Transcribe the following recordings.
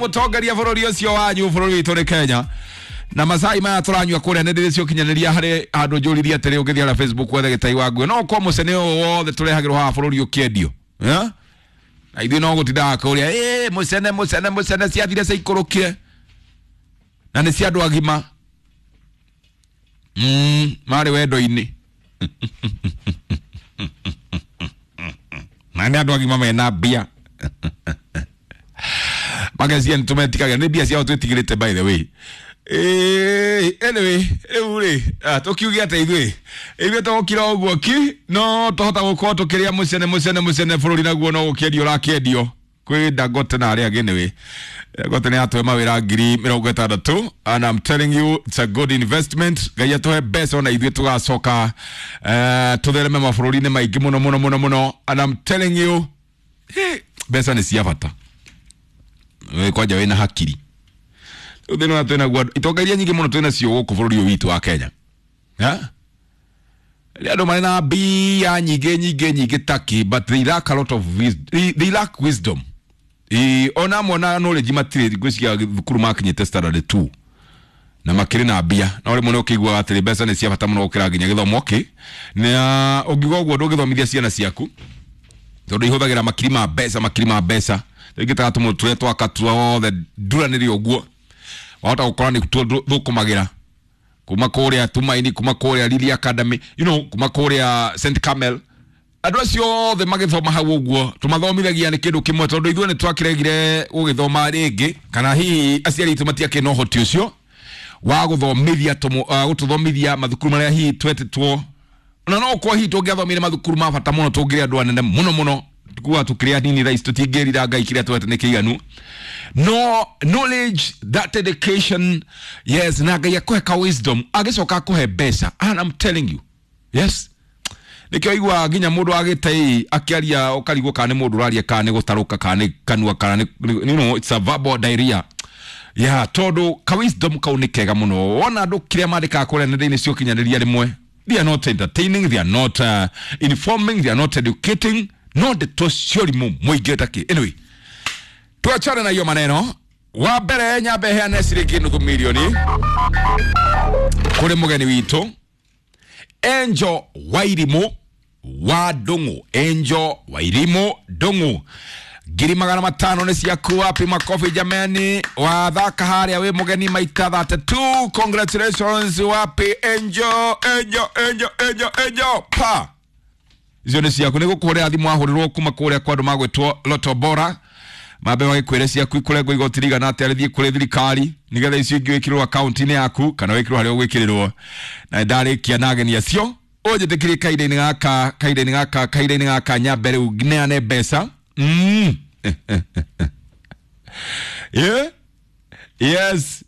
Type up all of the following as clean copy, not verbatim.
Mũtongoria bũrũri ũcio wanyu, bũrũri witũ nĩ Kenya. Na macai maya tũranyua kũrĩa nenda-inĩ cia ũkinyanĩria, harĩ handũ njũririe atĩrĩ, ũngĩthiĩ harĩa Facebook wethe Gĩtai wa Nguĩ, no ũkorwo mũcene ũyũ wothe tũrehagĩrwo haha bũrũri ũkĩendio. Yeah? Na ithuĩ no gũtindaga kũrĩa ĩ mũcene mũcene mũcene ciathire ciaikũrũkire na nĩ cia andũ agima marĩ wendo-inĩ na nĩ andũ agima mena mbia magecia nĩ tũmetigagĩra nĩ mbia ciao twĩtigĩrĩte. By the way, anyway, rĩu rĩ tũkiuge atĩ ithuĩ tũgũkira ũguo ki no tũhota gũkorwo tũkĩrĩa mũcene mũcene mũcene bũrũri naguo no gũkĩendio ũrakĩendio kwĩ Dangote na arĩa angĩ. Anyway, Dangote nĩ atũhe mawĩra 60,000 and I'm telling you it's a good investment. Ngai atũhe mbeca ona ithuĩ tũgacoka tũthereme mabũrũri-inĩ maingĩ mũno mũno mũno mũno. And I'm telling you, mbeca nĩ cia bata. Wĩ kwanja wĩna hakiri rĩu thĩna ũrĩa twĩnaguo, itonga iria nyingĩ mũno twĩnacio gũkũ bũrũri ũyũ witũ wa Kenya. Ha? Rĩrĩa andũ marĩ na mbia nyingĩ nyingĩ nyingĩ taki, but they lack a lot of wisdom. They lack wisdom. Ona amwe na knowledge matirĩ, ngwĩciria thukuru makinyĩte standard 2 na makĩrĩ na mbia, no rĩmwe nĩ ũkĩiguaga atĩrĩ mbeca nĩ cia bata mũno gũkĩra nginya gĩthomo kĩ na ũngiuga ũguo ndũngĩthomithia ciana ciaku tondũ ihũthagĩra makiri ma mbeca, makiri ma mbeca. Rĩngĩ ta tũmũ tũrĩa twaka tuothe nduranĩre ũguo wahota gũkora nĩ tuo thũkũmagĩra kuma kũrĩa Tumaini, kuma kũrĩa Lily Academy, kuma kũrĩa St Carmel. Andũ acio othe magĩthoma hau ũguo tũmathomithagia nĩ kĩndũ kĩmwe tondũ ithuĩ nĩ twakĩregire gũgĩthoma rĩngĩ, kana hihi aciari aitũ matiakĩrĩ na ũhoti ũcio wa gũthomithia gũtũthomithia mathukuru marĩa hihi twetĩtwo, na no ũkorwo hihi tũngĩathomire mathukuru ma bata mũno tũngĩrĩ andũ anene mũno mũno. Kuga tũkĩrĩ anini thaa ici tũtingĩrira Ngai kĩrĩa twete nĩ kĩiganu, no knowledge, that education, yes, na Ngai akũhe ka wisdom agĩcoka akũhe mbeca. And I'm telling you, yes, nĩkĩo iguaga nginya mũndũ agĩte akĩaria ũkarigwo kana nĩ mũndũ ũraria kana nĩ gũtarũka kana nĩ kanua kana nĩ it's a verbal diarrhea, yeah, tondũ ka wisdom kau nĩ kega mũno. Wona andũ kĩrĩa mandĩkaga kũrĩa nenda-inĩ cia ũkinyanĩria, rĩmwe they are not entertaining, they are not informing, they are not educating, no ndeto cia ũrimũ mũingĩ takĩ. Anyway, tuachane na hiyo maneno. Wa mbere nyambe heane ciringi nuthu milioni kũrĩ mũgeni witũ Angel Wairimu wa Ndung'u. Angel Wairimu Ndung'u, 500,000 nĩ ciaku. Wapi makofi jamani? Wathaka harĩa wĩ mũgeni maita 32. Congratulations. Wapi Angel? Angel, Angel, Angel, Angel, pa icio nĩ ciaku. Nĩ gũkũhũrĩra thimũ wahũrĩrwo kuma kũrĩa kwa andũ magwĩtwo Loto Bora, mambe magĩkwĩre ciaku ikũrengwo igoti rigana atĩa rĩthiĩ kũrĩ thirikari nĩgetha icio ingĩ wĩkĩrĩrwo akaunti-inĩ yaku kana wĩkĩrwo harĩa ũgwĩkĩrĩrwo. Na ndarĩkia na ageni acio, ũnjĩtĩkĩrie kahinda-inĩ gaka, kahinda-inĩ gaka, kahinda-inĩ gaka nyambe rĩu neane mbeca. Yeah? Yes,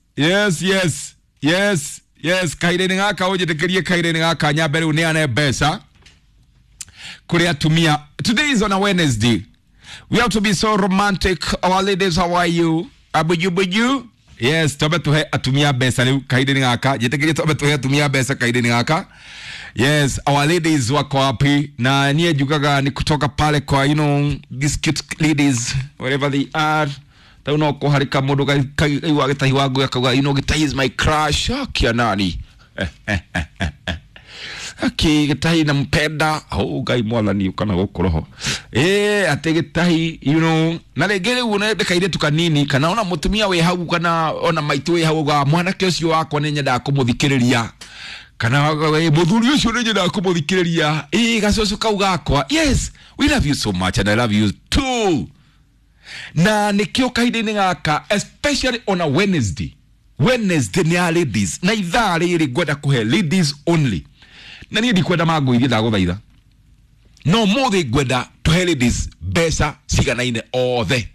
kahinda-inĩ gaka ũnjĩtĩkĩrie, kahinda-inĩ gaka nyambe rĩu neane mbeca kũrĩ atumia. Today is on a Wednesday. We have to be so romantic. Our ladies, how are you? Abuju buju. Yes, twambe tuhe atumia mbeca rĩu kahinda-inĩ gaka. Njĩtĩkĩrie twambe tuhe atumia mbeca kahinda-inĩ gaka. Yes, our ladies wako wapi? Na niĩ njugaga ni kutoka pale kwa these cute ladies wherever they are. Tau no kũharĩka mũndũ kaigua Gĩtahi wa Ngũĩ akauga, "Gĩtahi is my crush." Akia nani? Aki Gĩtahi nampenda. Oh, Ngai mwathani kana gũkũ roho. Atĩ Gĩtahi, na rĩngĩ rĩu nĩ kairĩtu kanini kana ona mũtumia wĩ hau kana ona maitũ wĩ hau uga mwanake ũcio wakwa nĩ nyendaga kũmũthikĩrĩria kana mũthuri ũcio nĩ nyendaga kũmũthikĩrĩria, gacũcũ kau gakwa. Yes, we love you so much and I love you too. Na nĩkĩo kahinda-inĩ gaka, especially on a Wednesday, Wednesday nĩ ya ladies, na ithaa rĩrĩ ngwenda kũhe ladies only, na niĩ ndikwenda mangũithie, ndagũthaitha, no mũthĩ ngwenda tũhe ladies mbeca ciganaine othe,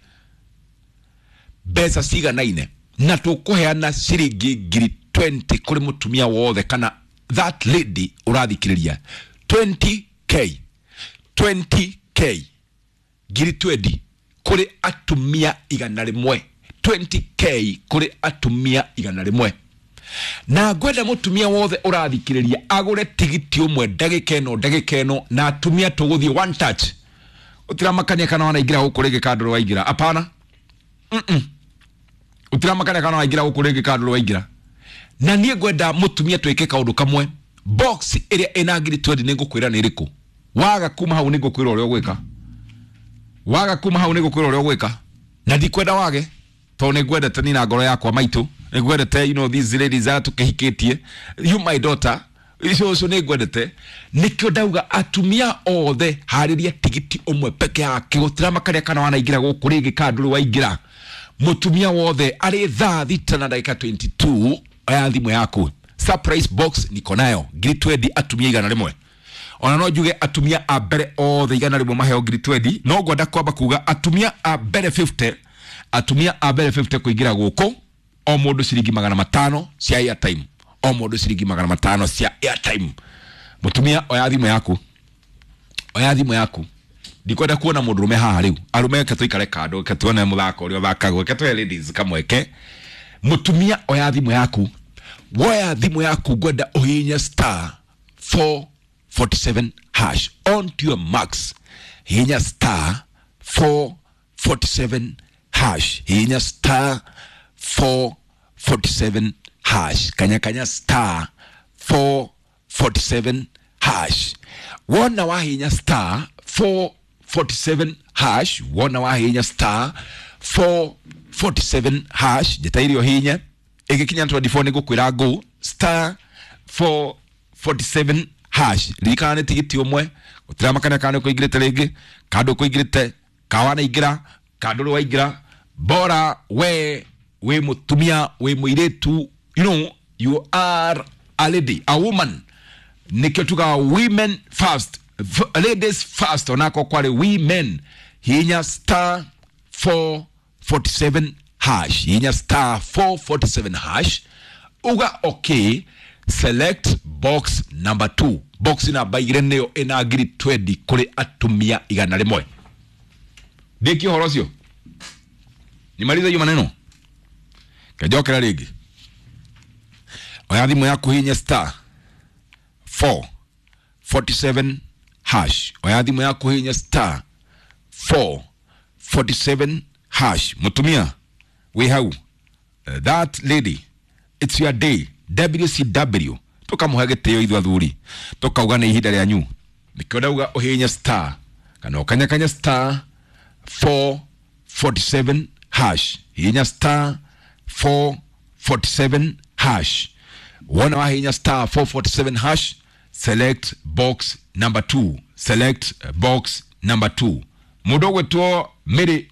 mbeca ciganaine, na tũkũheana ciringi 20,000 kũrĩ mũtumia wothe kana that lady ũrathikĩrĩria. 20K, 20K, 20,000 kũrĩ atumia 100, 20K kũrĩ atumia 100. Na ngwenda mũtumia wothe ũrathikĩrĩria agũre tigiti ũmwe ndagĩka ĩno, ndagĩka ĩno, na atumia tũgũthiĩ one touch. Ũtiramakania kana wanaingĩra gũkũ rĩngĩ kandũrũ waingĩra, apana. Utiramakania kana waingĩra gũkũ rĩngĩ kana ndũrĩ waingĩra. Na niĩ ngwenda mũtumia twĩke kaũndũ kamwe. Box ĩrĩa ĩna ngiri 20 nĩ ngũkwĩra nĩ ĩrĩkũ. Waga kuma hau nĩ ngũkwĩra ũrĩa ũgwĩka. Waga kuma hau nĩ ngũkwĩra ũrĩa ũgwĩka. Na ndikwenda wage tondũ nĩ ngwendete ni na ngoro yakwa maitũ. Nĩ ngwendete, you know, these ladies aya tũkĩhikĩtie. You my daughter. Icio ũcio nĩ ngwendete. Nĩkĩo ndauga atumia othe harĩria tigiti ũmwe peke yake. Gũtiramakania kana wanaingĩra gũkũ rĩngĩ kana ndũrĩ waingĩra. Mũtumia wothe arĩ thaa 6 na ndagĩka 22 oya thimũ yaku. Surprise box niko nayo ngiri 20 atumia 100. Ona no njuge atumia a mbere othe 100 maheo ngiri 20. No ngwenda kwamba kuga atumia a mbere 50, atumia a mbere 50 kuingira gũkũ o mũndũ ciringi 500 cia airtime. O mũndũ ciringi 500 cia airtime. Mũtumia oya thimũ yaku. Oya thimũ yaku. Ndikwenda kuona mũndũ ũrũme haha rĩu. Arũme reke tũikare kando, reke tuone mũthako ũrĩa ũthakagwo, reke tũhe ladies kamweke. Mũtumia oya thimũ yaku. Woya thimũ yaku ngwenda ũhihinye star 447 hash on to your max. Hihinya star 447 hash. Hihinya star 447 hash. Kanya kanya star 447 hash. Wona wahinya star 447 hash. Wona wahinya star 447 hash. Njĩta irio hinya ĩgĩkinya 24 nĩ ngũkwĩra ngũ star 447 hash. Ririkana nĩ tigiti ũmwe. Gũtiramakania kana nĩ ũkũingĩrĩte rĩngĩ kana ndũkũingĩrĩte, kana wanaingĩra kana ndũrĩ waingĩra. Bora we wĩ mũtumia, wĩ mũirĩtu, you know, you are a lady, a woman. Nĩkĩo tugaga women first, ladies first. Onako kwarĩ women. Hinya star 447 hash. Hinya star 447 hash. Uga okay, select box number 2. Box namba igĩrĩ nĩyo ĩna ngiri 20 kũrĩ atumia 100. Ndĩkie ũhoro ũcio. Nimalize hiyo maneno. Kajokera rĩngĩ. Oya thimũ yaku hinya star 447 hash. Oya thimũ yaku hinya star 447 hash. Mũtumia wĩ hau, that lady, it's your day. WCW tukamũhe gĩtĩo ithuĩ athuri, tukauga nĩ ihinda rĩanyu. Nĩkĩo ndauga ũhihinye star kana ũkanyakanya star 447 hash. Hihinya star 447 hash. Wona wahihinya star 447 hash, select box number 2. Select box number 2. Mũndũ ũgwĩtwo Mary.